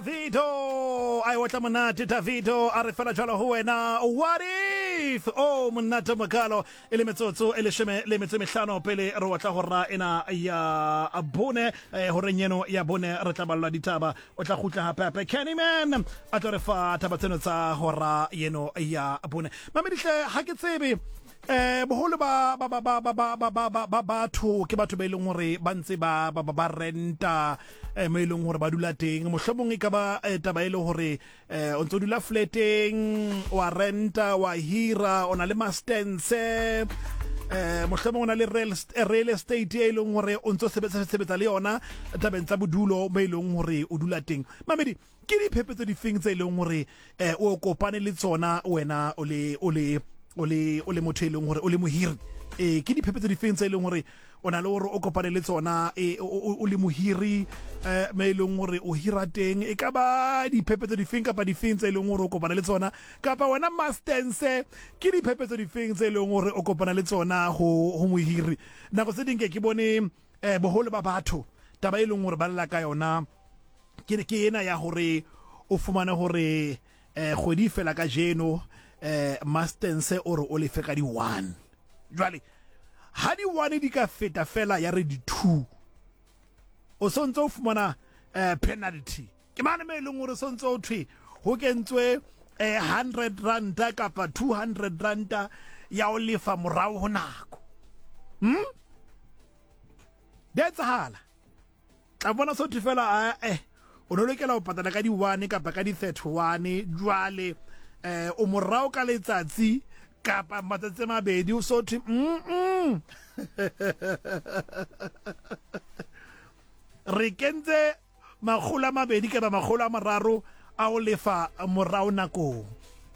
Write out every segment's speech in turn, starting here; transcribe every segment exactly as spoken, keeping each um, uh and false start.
Davido a e otla monate. Davido a re fela jalo ho wena, what if o monate mokalo e le metsotso e leshome le metso e mehlano pele re otla hora ena ya bone. eh, horeng eno ya bone re tla ballwa ditaba, o tla kgutla hape hape Candyman a tlo re fa taba tseno tsa hora eno ya bone. Mamedihle, ha ke tsebe eh boholo ba ba ba ba ba ba ba ba ba ba batho ke batho ba e leng hore ba ntse ba ba ba ba renta eh mo e leng hore ba dula teng. Mohlomong e ka ba eh, taba e le hore eh o ntso dula flateng, wa renta, wa hira, o na le mastense, eh mohlomong o na le real real estate e leng hore o ntso sebetsa sebetsa le yona tabeng tsa bodulo mo e leng hore o dula teng. Mamedi, ke diphephetso difeng tse e leng hore eh o kopane le tsona wena o le o le o le o le motho e leng hore o le mohiri? Eh ke diphephetso difeng tse e leng hore o na le hore o kopane le tsona e o le mohiri eh me e leng hore o hira teng? E ka ba diphephetso difeng kapa difeng tse e leng hore o kopana le tsona? Kapa wena mastense, ke diphephetso difeng tse e leng hore o kopana le tsona ho ho mohiri? Nako tse ding ke ke bone eh boholo ba batho taba e leng hore ba lla ka yona ke ke ena ya hore o fumane hore eh kgwedi fela ka jeno, eh mastense o re o lefe ka di one. Jwale ha di one di ka feta fela ya re di two, o sontse o fumana eh penalty. Ke mane me leng hore sontse o thwe ho kentswe eh hundred ranta kapa two hundred ranta ya o lefa morao ho nako. Hm di etsahala, tla bona so thwe fela eh o no lokela ho patala ka di one kapa ka di thirty one, jwale eh o morao ka letsatsi kapa matsatsi a mabedi, o so thwe mm re kentse makgolo a mabedi kapa makgolo a mararo a o lefa morao nakong.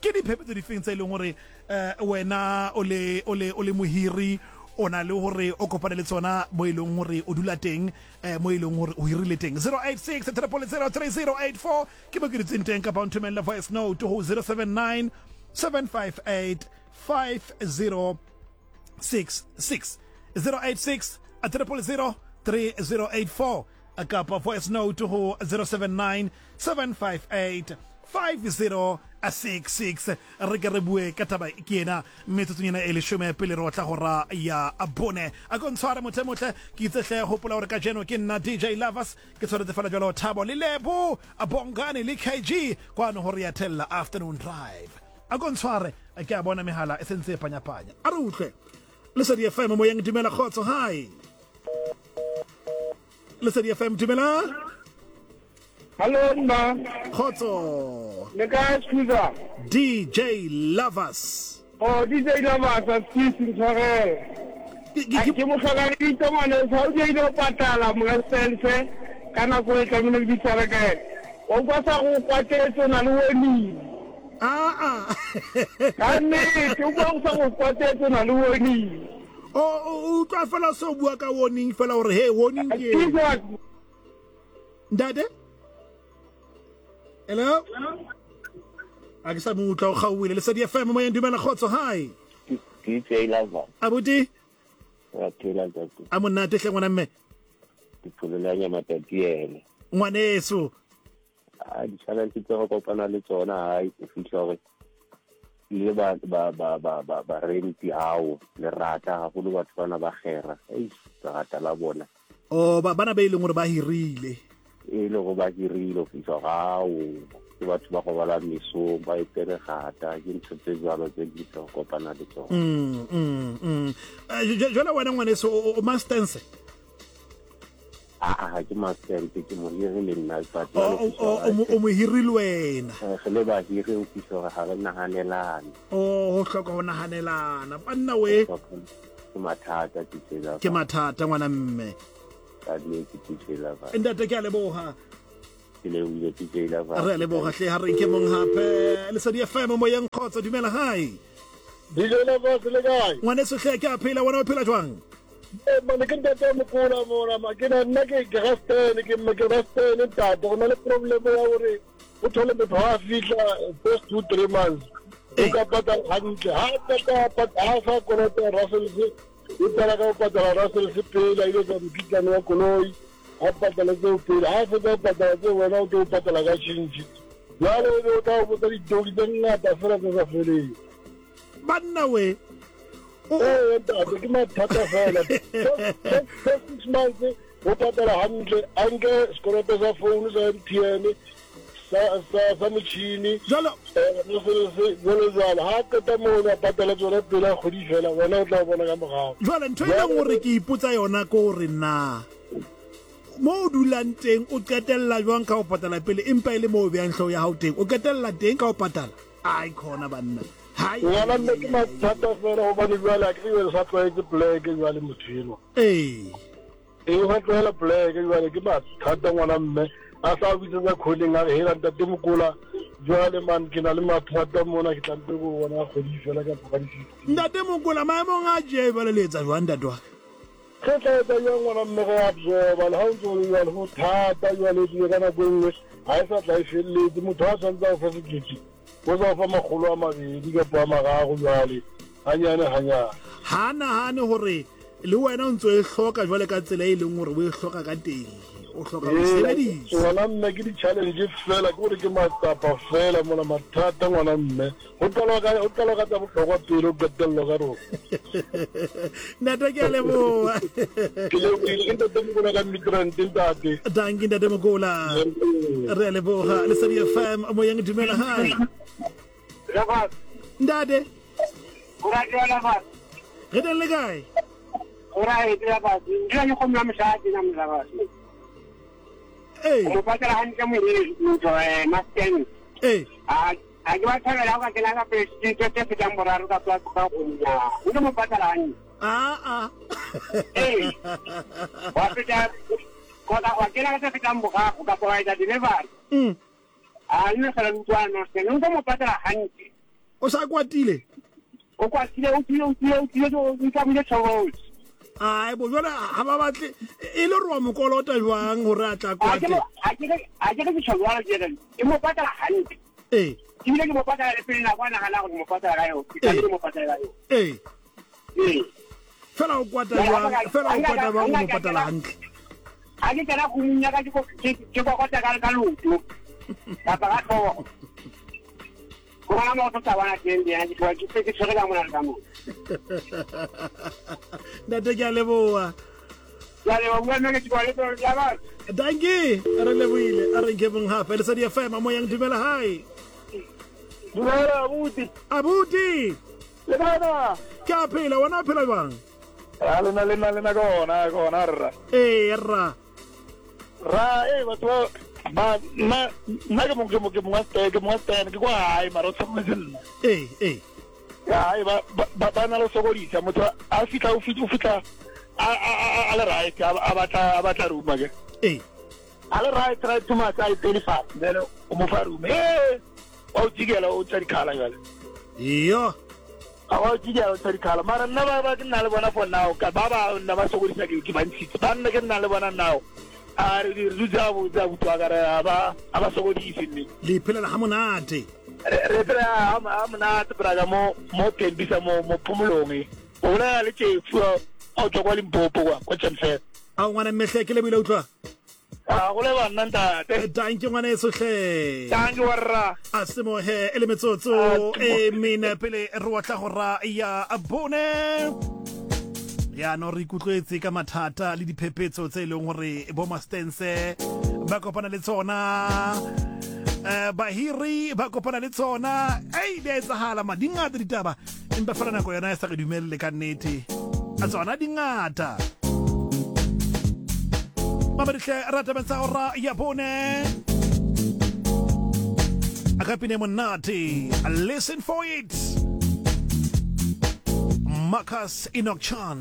Ke diphephetso difeng tse e leng hore eh wena o le o le o le mohiri o na le hore o kopane le tsona mo e leng hore o dula teng, eh mo e leng hore o hirile teng? zero eight six triple zero three zero eight four ke mo ke dutseng teng, kapa o nthomelle voice note ho zero seven nine seven five eight five zero six six. zero eight six triple zero three zero eight four kapa voice note ho zero seven nine seven five eight five zero six six. Re ke re bue ka taba ke ena metsotsong ena e leshome pele re otla hora ya bone. A ko ntshware motho e motle, ke itse hle hopola hore kajeno ke nna D J Lovers, ke tshwaretse fela jwalo Thabo le Lebo, Bongane le K G kwano hore ya thella afternoon drive. A ko ntshware, ke a bona mehala e sentse e panyapanya. A re utlwe Lesedi F M moyeng, dumela kgotso. Hi Lesedi F M, dumela. Hello mma. Kgotso. Le kae Scusa? D J Lovers. Oh, D J Lovers, a excuse ntshwarele. Ke motlhoka le ditso ngwane, sa o ile o patala monga sense ka nako e tlamehile le bitshware ka ena. O utlwa sa go kwatetse o na le warning. Ah ah. Ka nnete, o utlwa sa go kwatetse o na le warning. O o utlwa fela se o bua ka warning fela hore hey warning ke. Ntate? Hello? A ke sa mo utlwa o kgaohile. Lesedi F M moyeng, dumela kgotso. Hi. D J Lovers. Abuti? Wa phela ntate. A monate hle ngwana mme. Ke phololanya matatiele. Ngwaneso. A di-challenge tse re kopana le tsona hai o fihla hore le ba ba ba ba ba ba renti hao le rata haholo batho bana ba kgera. Ei, rata la bona. Oh, ba bana ba e leng hore ba hirile. E le go ba hirile o fihla hao ke batho ba go bala mesong ba ipere gata ke ntho tse jwalo tse di tlo kopana le tsona. Mm mm mm. Jwale wena ngwaneso o mastense? Ah ah, ke mastense, ke mohiri le nna but o o mohiri le wena. Re le bahiri o fihla hore ha re nahanelane. Oh, ho hloka ho nahanelana. Banna we. Ke mathata D J Lovers. Ke mathata ngwana mme. Ka nnete D J Lovers. Ntate ke a leboha. Ke lebohile D J Lovers. Re a leboha hle, ha re nke mong hape. Lesedi F M moyeng, kgotso, dumela. Hi. D J Lovers le kae? Ngwaneso hle ke a phela, wena o phela jwang? Eh mane ke ntate mokola mona ma ke nna ke ke rastene ke ke rastene ntate go na le problem ya hore o thole motho ha fihla first two three months o ka patala hantle ha patala ha sa kolota Russell o tsala ka ho patala Russell pele a ile tsa mokitlane wa koloi A patala tseo pele, ha fetsa ho patala tseo wena o tlo patala ka tjhentjhe. Jwale o be o tla o botsa ditori tse ngata fela tse sa feleng. Banna we. Ee ntate, ke mathata fela. First six months o patala hantle, a nke sekoloto sa phone sa M T N, sa sa sa motjhini. Jwalo jwalo jwalo. Ha qeta moo a patala tsona pele a kgwedi fela, wena o tla bona ka morao. Jwale ntho e leng hore ke ipotsa yona ke hore na mo o dulang teng o qetella jwang ka ho patala pele, empa e le mo o behang hlooho ya hao teng, o qetella teng ka ho patala. Ai khona banna. Hai. Ngwana mme ke mathata fela hobane jwale a ke re sa tlwaetse pleke jwale motho enwa. Ee. Ee, o sa tlwaela pleke jwale ke mathata ngwana mme. A sa bitsetsa kholeng a re hela ntate Mokola jwale man ke na le mathata mona ke tla mpe go bona kgwedi fela ka ka di-fifteen. Ntate Mokola maemong a je ba le letsa jwang ntate wa ka? Re tla etsa jwang ngwana mme re absorba le ha o ntso o le jwalo ho thata jwale ebile ka nako e nngwe ha e sa tla e felletse. Motho ha tshwanetse a o fe sekete o sa o fa makgolo a mabedi kapa a mararo jwale hanyane hanyane. Ha nahane hore le wena o ntso e hloka jwale ka tsela e leng hore o e hloka ka teng, o hloka ho sebedisa. Ngwana mme ke di-challenge fela, ke hore ke matsapa fela mona mathata ngwana mme. Ho qalwa ka ho qalwa ka tsa bohlokwa pele ho qetellwa ka rona. Ntate ke a leboha. Ke lebohile ke ntate Mokola ka Midrand ntate. Dankie ntate Mokola. Re a leboha. Lesedi F M moyeng dumela hi. Ntate. Re teng le kae? Ee. O patala hantle mohiri motho eh masteng. Ee. A a ke ba thabela ha ka kena ka pele tse tse fetang boraro ka ka ka go nna. O ke mo patala hantle. Ah ah. Ee. Wa feta kota wa kena ka tse fetang boraro ka pa etsa delivery. Mm. A nne fela utlwana masteng. O mo patala hantle. O sa kwatile? O kwatile o tsile o tsile o tsile o tlamile tshobotsi. Ai bo jwale ha ba batle e le re wa mokolota jwang hore a tla kwate? A ke a ke ke tshobotsi ke re ke mo patala hantle. Ee. Ebile ke mo patala le pele nako a nagana gore mo patala ka yona. Ke tla mo patala ka yona. Ee. Ee. Fela o kwata jwang? Fela o kwata jwang o mo patala hantle? Ha ke kena go munya ka ke ke kokota ka ka loto. Kapa ka tlhogo. Go bona mo tsa bona teng ya ke ke ke tshwere ka mona le ka mona. Ntate ke a leboha. Ya leboha bua mme ke tshwere le ya ba. Dankie, re lebohile. A re nke mong hape Lesedi F M moyeng dumela hi. Dumela abuti. Abuti. Le bana. Ke a phela wena o phela jwang? A lena lena lena gona gona rra. Ee rra. Ra eh batho ba nna nna ke mong ke mong ke mong wa ke mong wa stand ke kwa hae mara o tshwanetse nna. Ee ee. Ya ba ba ba na le sokodisa motho a fitla o fitla o fitla a a a le right a batla a batla room ke. Ee. A le right right too much I pay fast then o mo fa room. Eh o jigela o tsa dikhala jwale. Iyo. A wa jigela o tsa dikhala mara nna ba ba ke nna le bona for now ka ba ba nna ba sokodisa ke ke ba ntshitse ba nna ke nna le bona now. A re re dutse bo tsa botwa ka re ba a ba sokodise mme. Le phelela ha monate. Re re phela ha monate braga mo mo Tembisa mo mo Phomolong. O bolela le tšefu o tswa kwa Limpopo kwa kwa Tshemfela. A ngwana mmehle ke lebile utlwa. A go le bana ntate. Dankie ngwana eso hle. Dankie warra. A semohe e le metsotso e mene pele re watla go ra ya bone. Ya no re ikutlwetse ka mathata le diphephetso tse leng hore bo mastense ba kopana le tsona. Eh bahiri ba kopana le tsona. Ei di a etsahala ma di ngata ditaba empa fela nako yona e sa re dumelle ka nnete. A tsona di ngata. Mamadihle rata tsa ora ya bone. Akapine monate. Listen for it. Marcus Enoch Chan.